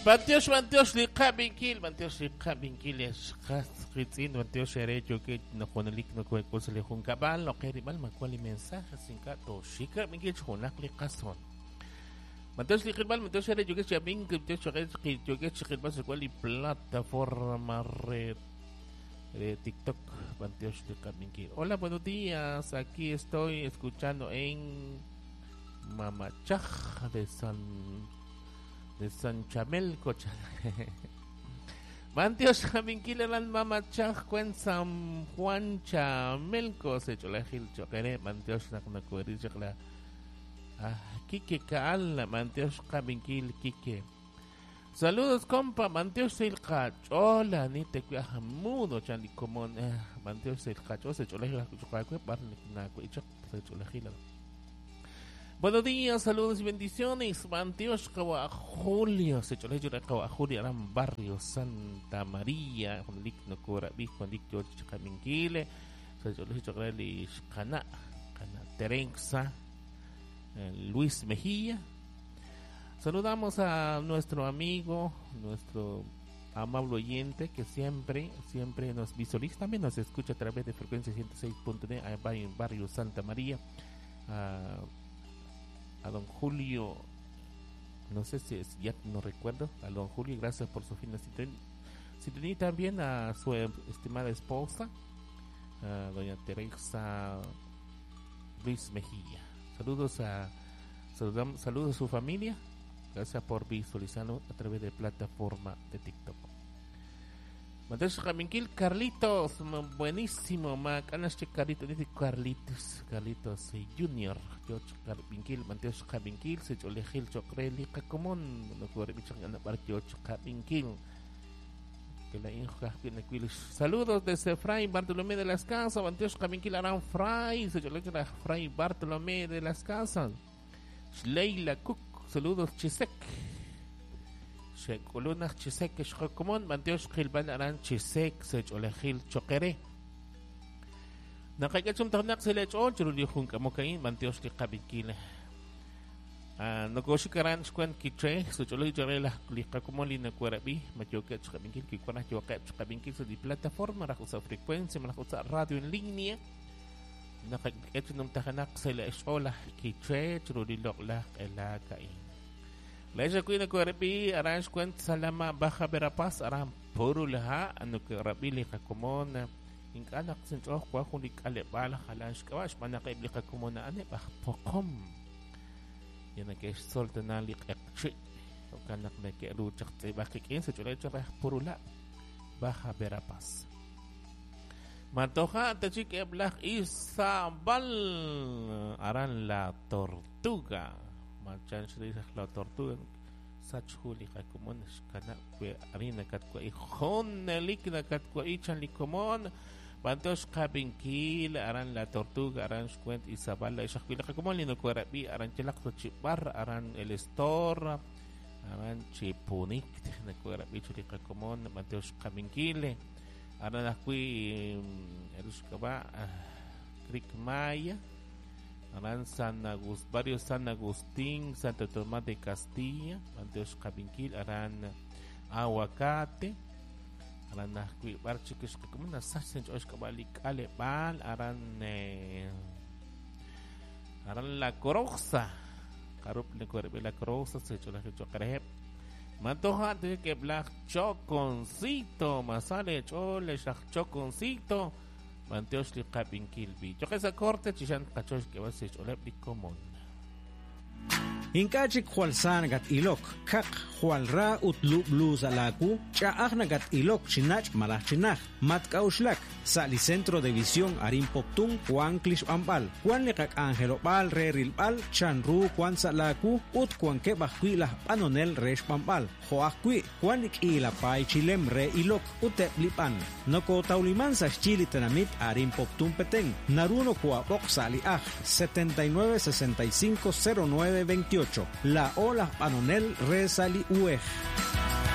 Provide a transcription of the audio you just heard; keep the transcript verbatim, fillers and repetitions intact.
Bantiox, bantiox, li qabinkil, bantiox, li qabinkil, esqas, qitzin, bantiox, ere, yoke, no juanalik, no kuekul, se le junkabal, no keribal, macuali mensaje, sin kato, shika, binkil, junak, li qason. Bantiox, li qilbal, bantiox, ere, yoke, chabin, bantiox, ere, yoke, chiqilbal, se cual, plataforma red de TikTok, bantiox, li qabinkil. Hola, buenos días, aquí estoy escuchando en Mamachaj de San de San Chamelco. Bantiox Jaminquil eran Mamachaj cuen San Juan Chamelco se cholajil choquere Bantiox naknakueri chakla ah Kike Kaal Bantiox Jaminquil Kike. Saludos compa Bantiox el cachola ni te cuidaja mudo chan comón Bantiox el cacho se cholajil chocacue barnacuichak se cholajil. Buenos días, saludos y bendiciones. Bantiox Kawa Julio, se chole yura Kawa Julio, Aran Barrio Santa María, Juan Lik no Cora Bi, Juan Lik George Chaminquile, se chole yura li Kana, Kana Terenxa, Luis Mejía. Saludamos a nuestro amigo, nuestro amable oyente que siempre, siempre nos visualiza, también nos escucha a través de frecuencia ciento seis punto nueve en Barrio Santa María. Uh, a don Julio, no sé si es, ya no recuerdo, a don Julio, gracias por su fina sintonía, y también a su estimada esposa, a doña Teresa Luis Mejía. Saludos a saludamos, saludos a su familia, gracias por visualizarlo a través de plataforma de TikTok. Mateo Jaminquil, Carlitos, buenísimo, Macanache Carlitos, dice Carlitos, Carlitos Junior, George Carminquil, Mateo Jaminquil, se cholejil, chocreli, cacomón, no corre, bicho, George Jaminquil, que la inja, saludos desde Fray Bartolomé de las Casas, Mateo Jaminquil, Aran Fray, se cholejil, Fray Bartolomé de las Casas, Leila Cook, saludos, Chisek. Shekulunaj Chisek Xjokomon, Bantiox Gilban Aran Chisek, Sech Olejil Choquere. Nakakachum Tarnak Selech Ol, Churuli Junkamokain, Bantiox Liqabinkile. Nokoshikaran Xkuen Kiche, Sech Olej Chorela Liqakomoli Nakuarabi, Matioke Chkabinkil, Kikuana Yoke Chkabinkil, su plataforma, Rajusa Frecuencia, Marajusa Radio en línea. Nakakachum Tajanak Selech Ola Kiche, Churuli Lokla Elakain. La ella cuida que aran cuent salama Baja Verapaz aran purulha ano que rabili kakomona inkanak sincho kwa kulik alebala halansh kawash manaka ibli kakomona ane bah pokom yana que soltana li qchi okanak na que ru chaqti bakikin se chule chaq purula Baja Verapaz Matoja tachik eblaj Isabal aran la tortuga Machan la tortuga sachuli kakumon kana kwe arina katkwa ijonelik na katkwa ichan likomon bantos kabinkil aran la tortuga aran xcuent Isabal la ixakwila kakumon lino kwarabi aran chelak chibar aran el estor aran chipunik na kwarabi chuli kakumon bantos kabinkil aran akwi erushkaba Creek Maya Aran San Agustín, Barrio San Agustín, Santo Tomás de Castilla, Banteos Cabinquil, Aran Aguacate, Aran Ajui, Barchiques, como una sacen, Oshkabalik, Alepal, Aran eh, Aran La Coroza, Carup, La Coroza, se echó la Chocarejep, Matoja, que Black Choconcito, Masale, Chole, Choconcito. Manteox li qabinkil bi. Choqesa corte chishan qachox que vas cholep li común. Inkachik jwal sa nakat ilok, kaq jwal ra ut lublu sa laku, ch'a'aj nakat ilok chinach malaj chinaj, matk'awxlak, sa li Centro de Visión Arin Poptún, Juan Klixb'anb'al, Juan liqak angelob'al re rilb'al, chanru Juan sa laku, ut Juan keb'aj kwi laj b'anonel re xb'anb'al, jo'aj kwi, Juan lik'ilapay chilem re ilok, uteb lib'an. Noko tawliman sa xchili tenamit Arin Poptún Petén, naruno kuab'oq sa li aj, setenta y nueve sesenta y cinco cero nueve veintiocho. La Ola Panonel Resali U E J.